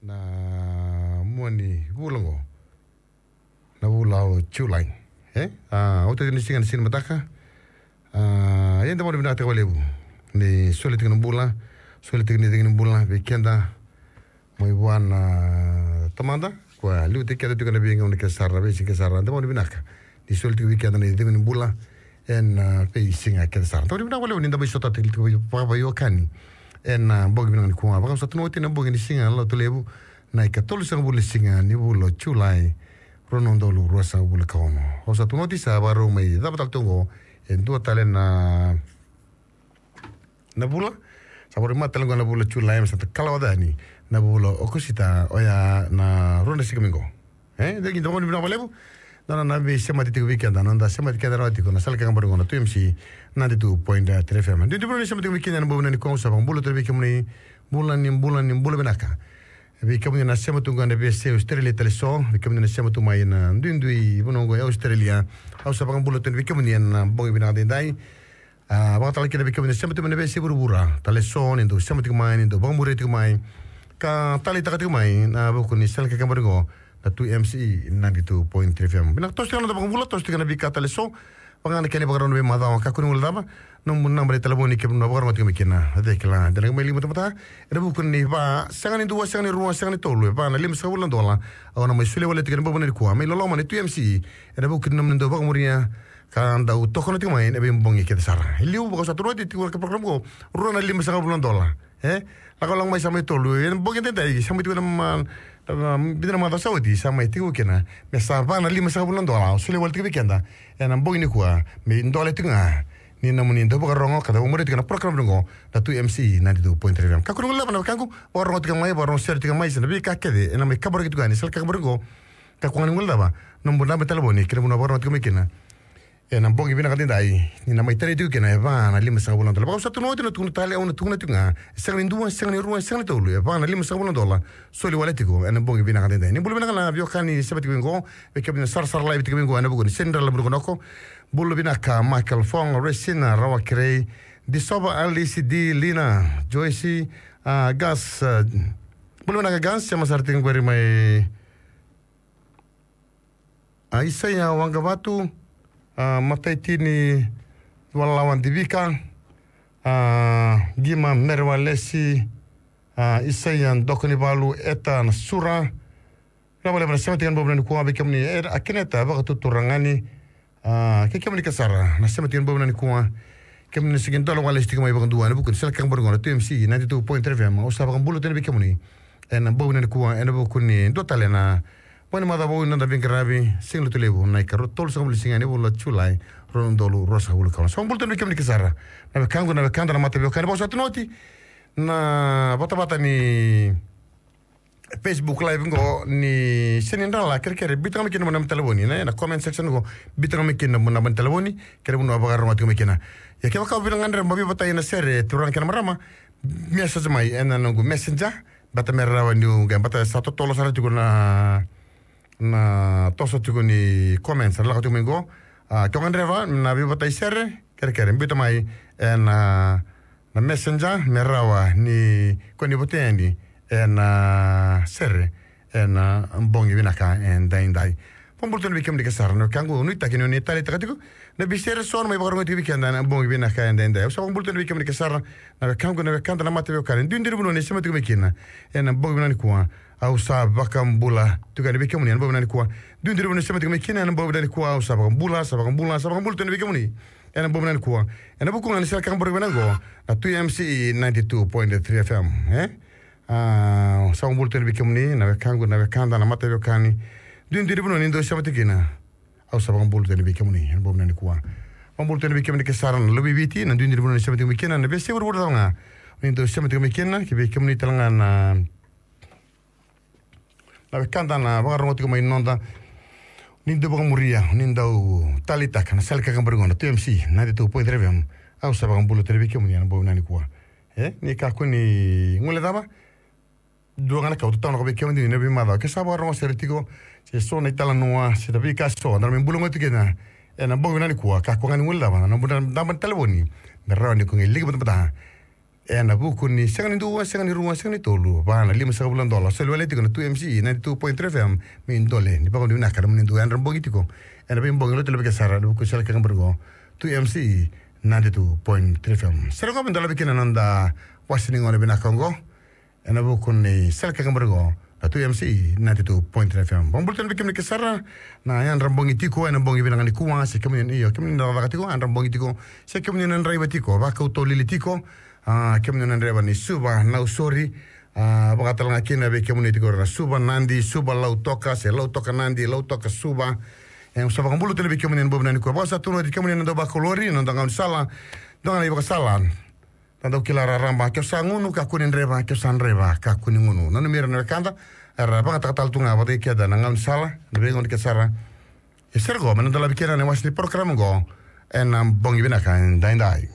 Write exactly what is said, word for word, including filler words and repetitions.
Na mua ni vula oqo, na vula o Julai. E? A, oti ni siga na siga ni mataka. A, ia da vakavinavinakataka vakalevu ni soli tiko na bula, soli tiko ni cegu ni bula vei keda mai vua na Tamada, koya liutaki keda tiko na veigauna kece sara, na veisiga kece sara. Da vakavinavinaka ni soli tiko vei keda na icegu ni bula ena, a, veisiga kece sara. Da vakavinavinaka vakalevu ni da mai sota tiko vakaveiwekani ena, a, bogi vinaka nikua. Vakau sa tukuna oti na bogi ni siga Lotulevu, na ikatolusagavulu ni siga ni vula o Julai, rua na udolu ruasagavulu ka ono. Au sa tukuna oti sa vakarau mai cava tale tu oqo e dua tale na na vula. Sa vakarau mai tale oqo na vula o Julai, me sa kalawa yani na vula o Okosita, oya na rua na siga mai oqo. E, dei ni da vakavinavinaka vakalevu. Na, na, na veisemati tiko vei keda, na noda semati keda rawa tiko na sala kekabari oqo na two M C ninety-two point three F M. Dui dui vuna ni semati tiko vei keda ena bogi vinaka nikua, au sa vakabula tale vei kemuni, bula ni bula ni bula vinaka. Vei kemuni na sema tu oqo ena veiyasai Australia tale so, vei kemuni na sema tu mai ena duidui vanua oqo e Australia, au sa vakabula tale vei kemuni ena bogi vinaka daidai. A, vakatale kina vei kemuni na sema tiko mai na veiyasai vuravura tale so, ni dau sema tiko mai, ni dau vakamuria tiko mai ka taleitaka tiko mai ena vuku ni sala kekabari oqo na two M C ninety-two point three F M. Vinaka, toso tiko na noda vakabula, toso tiko na veika tale so. Vaka ga na kena ivakarau na veimacawa, kakua ni guilecava na nomu naba ni talevoni kevaka o na vakarogo tiko mai kina. Cei kila, dina ga mai liu matamata ena vuku ni va, sega ni dua, sega ni rua, sega ni tolu, e va na limasagavulu na dola. Au na mai solia wale tiko ena bogi vinaka nikua mai loloma ni two M C ena vuku ni nomuni dau vakamuria ka dau tokona tiko mai ena veibogi kece sara. E liu, vakau sa tukuna oti, tiko na program oqo, rua na limasagavulu na dola. E? Lakolako mai sa mai tolu. Ena bogi daidai sa mai tiko na ma-, na, na, vica na macawa sa oti sa mai tiko kina me sa va na limasagavulu na dola. Au solia wale tiko vei keda ena bogi nikua me idola tiko ga ni nomuni dau vakarogo ka dau vakamuria tiko na program oqo na two M C ninety-two point three F M. Kakua ni guilecava na wekaqu, vakarogo tiko mai, vakarogo sere tiko mai, se na veika kece ena mai kaburaki tiko ga ni sala kekabari oqo. Kakua ga ni guilecava na nomu naba ni talevoni kei na vanua o vakarogo tiko mai kina ena bogi vinaka daidai, ni na mai talei tiko kina e va na limasagavulu na dola. Vakau sa tukuna oti, na tukuna tale, au na tukuna tiko ga, e sega ni dua, e sega ni rua, e sega ni tolu, e va na limasagavulu na dola. Soli wale tiko ena bogi vinaka daidai. Ni bula vinaka na veiwekani sema tiko mai oqo, vei kemuni na sarasara live tiko mai oqo ena vuku ni Senidrala Murukonoko. Bula vinaka Michael Fong, Resina, Rawa Kerei, Disova, Alice, Di, Lina, Joyce, a, Gas, a, bula vinaka Gas, sema sara tiko qori mai a, Isaia Waqavatu, a, Mataitini Walalawa Divika, a, Qima Mere Walesi, a, Isaia Dokonivalu, Eta Nasura. Vinaka vakalevu na sema tiko ena bogi vinaka nikua vei kemuni, e, a, Keneta Vakatuturagani, a, kei kemuni kece sara na sema tiko ena bogi vinaka nikua. Kemuni na sega ni dola wale tiko mai vakadua ena vuku ni sala kekabari oqo na two M C ninety-two point three F M. Au sa vakabula tale vei kemuni ena bogi vinaka nikua ena vuku ni dua tale na bogi ni macawa vou ni noda veiqaravi Siga Lotulevu, na ikatolusagavulu ni siga ni vula o Julai, rua na udolu ruasagavulu ka ono. Sa vakabula tale vei kemuni kece sara na wekaqu, na wekada, na mataveiwekani. Vakau sa tukuna oti na vatavata ni Facebook Live oqo ni Senidrala, kerekere biuta ga mai kina na nomu naba ni talevoni, na, na comment section oqo, biuta ga mai kina na nomu naba ni talevoni kei na vanua o vakarogo tiko mai kina. Ia kevaka o via gadreva mo veivatai ena sere, turaga kei na marama, message mai ena noqu Messenger, baleta me rawa niu qai, baleta sa totolo sara tiko na, na toso tiko ni comments era lako tiko mai oqo. A, ke o gadreva na veivatai sere, kerekere biuta mai ena, na Messenger me rawa ni ko ni vote yani ena sere ena bogi vinaka edaidai. Vakabula tale vei kemuni kece sara na wekaqu, nuitaki ni o ni taleitaka tiko na veisere eso na mai vakarogo tiko vei keda ena bogi vinaka edaidai. Au sa vakabula tale vei kemuni kece sara na wekaqu, na wekada, na mataveiwekani, duidui ni vanua ni sema tiko mai kina ena bogi vinaka nikua. Au sa vakabula tiko yani vei kemuni ena bogi vinaka nikua. Duidui ni vanua ni sema tiko mai kina ena bogi vinaka nikua. Au sa vakabula, sa vakabula, sa vakabula tale vei kemuni ena bogi vinaka nikua ena vuku ga ni sala kekabari vinaka oqo na two M C ninety-two point three F M, e? A, sa vakabula tale vei kemuni na wekaqu, na wekada, na mataveiwekani, duidui ni vanua ni dau sema tiko kina. Au sa vakabula tale vei kemuni ena bogi vinaka nikua. Vakabula tale vei kemuni kece sara na luve i Viti, na duidui ni vanua ni sema tiko mai kina, na veiyasai vuravura cava ga ni dau sema tiko mai kina, kei vei kemuni tale ga na na wekada na vakarogo tiko mai noda, ni dau vakamuria, ni dau taleitaka na sala kekabari oqo na two M C ninety-two point three F M. Au sa vakabula tale vei kemuni ena bogi vinaka nikua. E, ni kakua ni guilecava. Dua ga na ka au tautaunaka vei kemuni ena veimacawa, ke sa vakarogo sere tiko se so na italanoa se na veika eso eda na mai bula gona tiko kina ena bogi vinaka nikua, kakua ga ni guilecava na nomu naba ni talevoni me rawa ni ko qai liga batabata Ena vuku ni sega ni dua, sega ni rua, sega ni tolu, va na lima sagavulu na dola. Soli wale tiko na two M C E ninety-two point three F M, me dole ni vakavinavinaka na muni dua yadra bogi tiko. Ena veibogi lotu levu ke sara, ena vuku sela ke kabari qo. Two M C E ninety-two point three F M. Sera qo me dolavi kina na noda wasi ni gone vinaka qo. Ena vuku ni sela ke kabari qo. Na two M C E ninety-two point three F M. Vakabula tale vei kemuni ke sara, na yadra bogi tiko, ena bogi vinaka nikua, se kemuni na, io, kemuni na cakacaka tiko, yadra bogi tiko, se kemuni na draiva tiko, vakautolili tiko, a, kemuni na draiva ni Suva, Nausori, a, vakatalega kina vei kemuni tiko na Suva, Nadi, Suva, Lautoka, se Lautoka, Nadi, Lautoka, Suva. E, sa vakabula tale vei kemuni na bogi nikua, vakasa tu na kemuni na dau vakalori, na dau gaunisala, dau gana ivakasala. Na dau kila raraba, ke o sa gunu, kakua ni draiva, ke o sa draiva, kakua ni gunu. Nanumi ira na wekada, era vakatakatala tu ga vata kei keda na gaunisala, na veigauna ke sara. E sera qo, me na dolavi kina na wasi ni program qo, ena bogi vinaka, daidai.